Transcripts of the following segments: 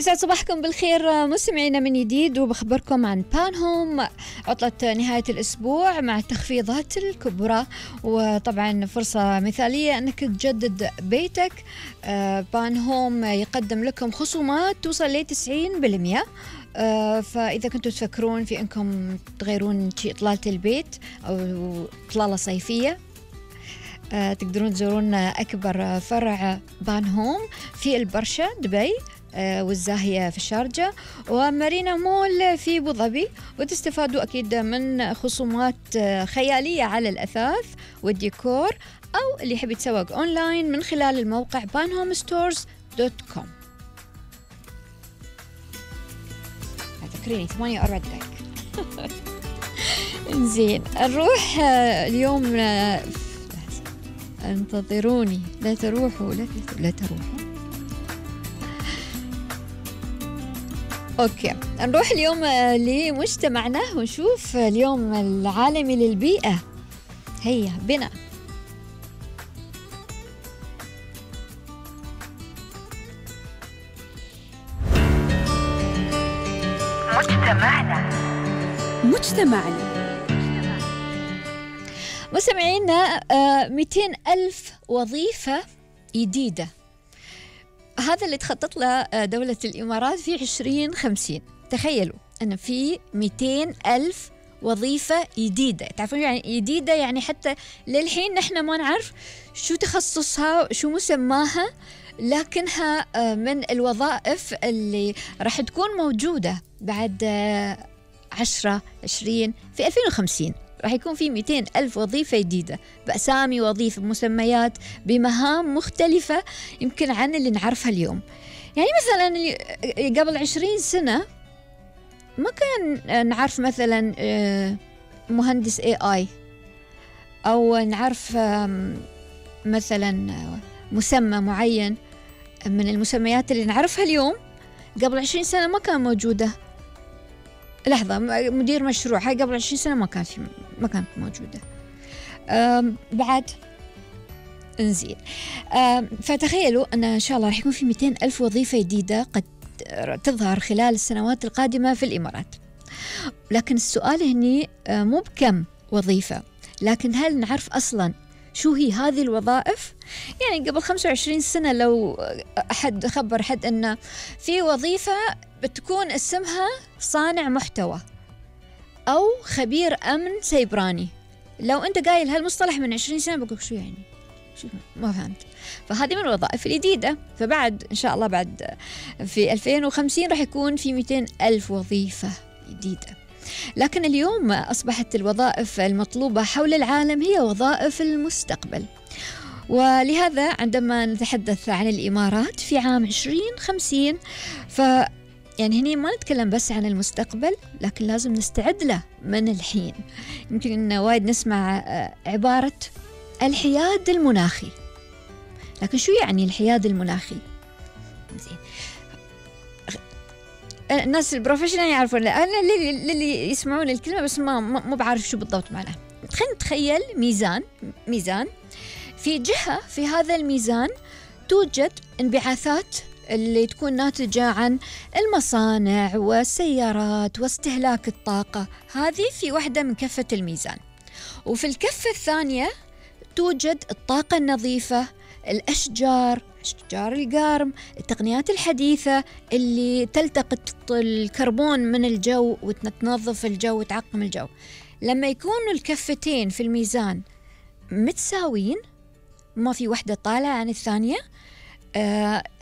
يسعد صباحكم بالخير مستمعينا من جديد، وبخبركم عن بان هوم عطلة نهاية الأسبوع مع التخفيضات الكبرى، وطبعا فرصة مثالية أنك تجدد بيتك. بان هوم يقدم لكم خصومات توصل ل 90%. فإذا كنتوا تفكرون في أنكم تغيرون إطلالة البيت أو إطلالة صيفية، تقدرون تزورون أكبر فرع بان هوم في البرشا دبي، والزاهية في الشارجة، ومارينا مول في أبو ظبي، وتستفادوا أكيد من خصومات خيالية على الأثاث والديكور، أو اللي يحب يتسوق أونلاين من خلال الموقع banhomestores.com. تذكريني 8:04 دقائق. زين، نروح اليوم. انتظروني، لا تروحوا. أوكي، نروح اليوم لمجتمعنا ونشوف اليوم العالمي للبيئة. هيا بنا. مجتمعنا مستمعينا، 200,000 وظيفة جديدة، هذا اللي تخطط له دولة الإمارات في 2050. تخيلوا أن في 200,000 وظيفة جديدة. تعرفون يعني جديدة؟ يعني حتى للحين نحن ما نعرف شو تخصصها، شو مسماها، لكنها من الوظائف اللي راح تكون موجودة بعد 10-20 في 2050. راح يكون في 200,000 وظيفة جديدة بأسامي وظيفة، بمسميات، بمهام مختلفة يمكن عن اللي نعرفها اليوم. يعني مثلا قبل 20 سنة ما كان نعرف مثلا مهندس AI، أو نعرف مثلا مسمى معين من المسميات اللي نعرفها اليوم. قبل 20 سنة ما كان موجودة. لحظة، مدير مشروع، هاي قبل 20 سنة ما كانت موجودة. بعد انزين. فتخيلوا أن شاء الله راح يكون في 200,000 وظيفة جديدة قد تظهر خلال السنوات القادمة في الإمارات. لكن السؤال هني مو بكم وظيفة، لكن هل نعرف أصلا شو هي هذه الوظائف؟ يعني قبل 25 سنة لو أحد خبر حد أن في وظيفة بتكون اسمها صانع محتوى أو خبير أمن سيبراني، لو أنت قايل هالمصطلح من 20 سنة بقول شو يعني؟ شو ما فهمت. فهذه من الوظائف الجديدة. فبعد إن شاء الله بعد في 2050 راح يكون في 200,000 وظيفة جديدة. لكن اليوم أصبحت الوظائف المطلوبة حول العالم هي وظائف المستقبل، ولهذا عندما نتحدث عن الإمارات في عام 2050 يعني هني ما نتكلم بس عن المستقبل، لكن لازم نستعد له من الحين. يمكن إن وايد نسمع عبارة الحياد المناخي، لكن شو يعني الحياد المناخي؟ زين، الناس البروفيشنال يعرفون، أنا اللي يسمعون الكلمة بس ما بعرف شو بالضبط معناها. خلينا نتخيل ميزان في جهة، في هذا الميزان توجد انبعاثات اللي تكون ناتجة عن المصانع والسيارات واستهلاك الطاقة. هذه في واحدة من كفة الميزان. وفي الكفة الثانية توجد الطاقة النظيفة، الأشجار القارم، التقنيات الحديثة اللي تلتقط الكربون من الجو وتنظف الجو وتعقم الجو. لما يكونوا الكفتين في الميزان متساويين، ما في واحدة طالعة عن الثانية،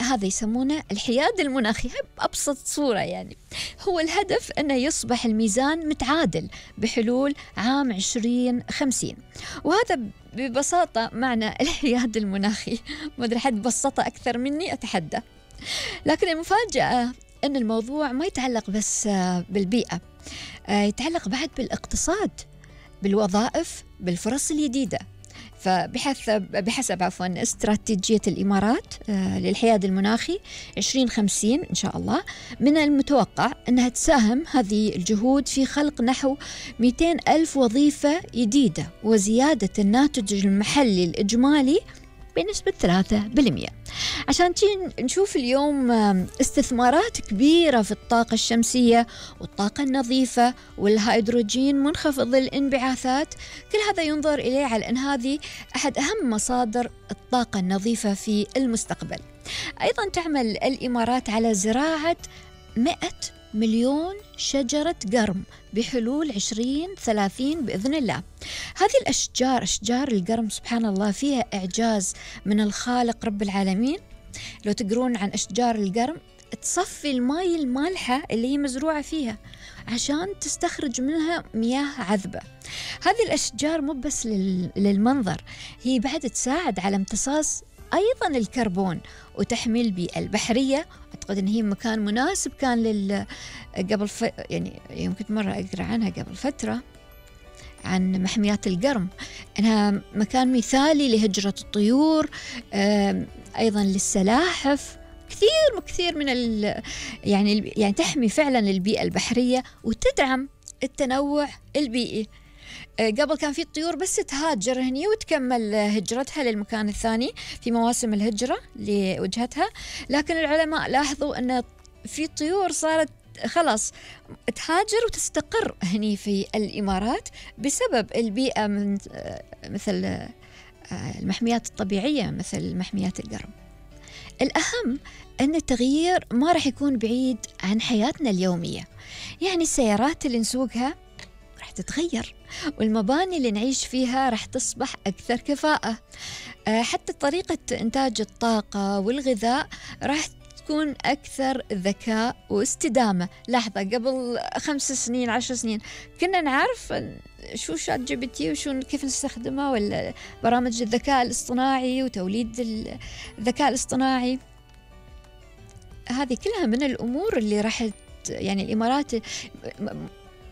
هذا يسمونه الحياد المناخي بأبسط صورة. يعني هو الهدف أنه يصبح الميزان متعادل بحلول عام 2050. وهذا ببساطة معنى الحياد المناخي. ما أدري حد بسطة أكثر مني أتحدى. لكن المفاجأة أن الموضوع ما يتعلق بس بالبيئة، يتعلق بعد بالاقتصاد، بالوظائف، بالفرص الجديدة. فبحسب استراتيجية الإمارات للحياد المناخي 2050 إن شاء الله، من المتوقع أنها تساهم هذه الجهود في خلق نحو 200,000 وظيفة جديدة، وزيادة الناتج المحلي الإجمالي بنسبة 3%. عشان نشوف اليوم استثمارات كبيرة في الطاقة الشمسية والطاقة النظيفة والهيدروجين منخفض الانبعاثات. كل هذا ينظر إليه على أن هذه أحد أهم مصادر الطاقة النظيفة في المستقبل. أيضا تعمل الإمارات على زراعة 100 مليون شجرة قرم بحلول 2030 بإذن الله. هذه الأشجار، أشجار القرم سبحان الله فيها إعجاز من الخالق رب العالمين. لو تقرون عن أشجار القرم تصفي الماء المالحة اللي هي مزروعة فيها عشان تستخرج منها مياه عذبة. هذه الأشجار مو بس للمنظر، هي بعد تساعد على امتصاص أيضا الكربون وتحمي البيئة البحرية. أعتقد أن هي مكان مناسب كان يعني يمكن مرة أقرأ عنها قبل فترة عن محميات القرم، أنها مكان مثالي لهجرة الطيور، أيضا للسلاحف، كثير من يعني تحمي فعلا البيئة البحرية وتدعم التنوع البيئي. قبل كان في الطيور بس تهاجر هني وتكمل هجرتها للمكان الثاني في مواسم الهجرة لوجهتها، لكن العلماء لاحظوا أن في طيور صارت خلاص تهاجر وتستقر هني في الإمارات بسبب البيئة مثل المحميات الطبيعية مثل محميات القرم. الأهم أن التغيير ما راح يكون بعيد عن حياتنا اليومية، يعني السيارات اللي نسوقها راح تتغير، والمباني اللي نعيش فيها راح تصبح أكثر كفاءة، حتى طريقة إنتاج الطاقة والغذاء راح تكون أكثر ذكاء واستدامة. لحظة، قبل 5 سنين 10 سنين كنا نعرف شو شات جي بي تي وشو كيف نستخدمها، ولا برامج الذكاء الاصطناعي وتوليد الذكاء الاصطناعي. هذه كلها من الأمور اللي راح يعني الإمارات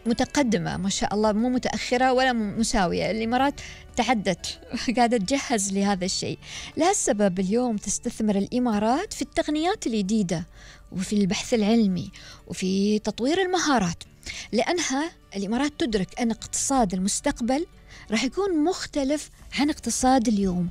متقدمة ما شاء الله، مو متأخرة ولا مساوية. الإمارات تعدت قاعدة تجهز لهذا الشيء. لهالسبب اليوم تستثمر الإمارات في التقنيات الجديدة وفي البحث العلمي وفي تطوير المهارات، لأنها الإمارات تدرك أن اقتصاد المستقبل راح يكون مختلف عن اقتصاد اليوم.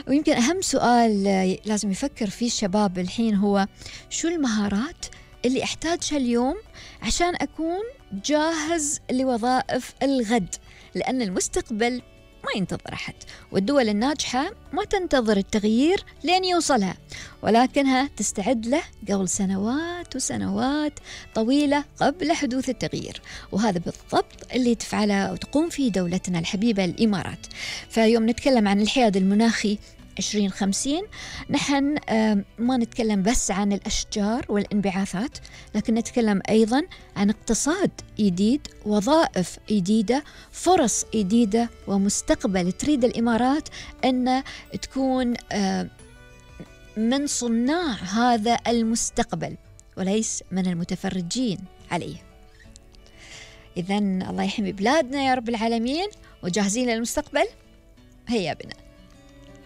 ويمكن أهم سؤال لازم يفكر فيه الشباب الحين هو شو المهارات اللي أحتاجها اليوم عشان أكون جاهز لوظائف الغد، لأن المستقبل ما ينتظر أحد، والدول الناجحة ما تنتظر التغيير لين يوصلها، ولكنها تستعد له قبل سنوات وسنوات طويلة قبل حدوث التغيير. وهذا بالضبط اللي تفعله وتقوم فيه دولتنا الحبيبة الإمارات. فيوم نتكلم عن الحياد المناخي 2050 نحن ما نتكلم بس عن الأشجار والانبعاثات، لكن نتكلم أيضا عن اقتصاد جديد، وظائف جديدة، فرص جديدة، ومستقبل تريد الإمارات أن تكون من صناع هذا المستقبل وليس من المتفرجين عليه. إذن الله يحمي بلادنا يا رب العالمين، وجاهزين للمستقبل. هيا بنا.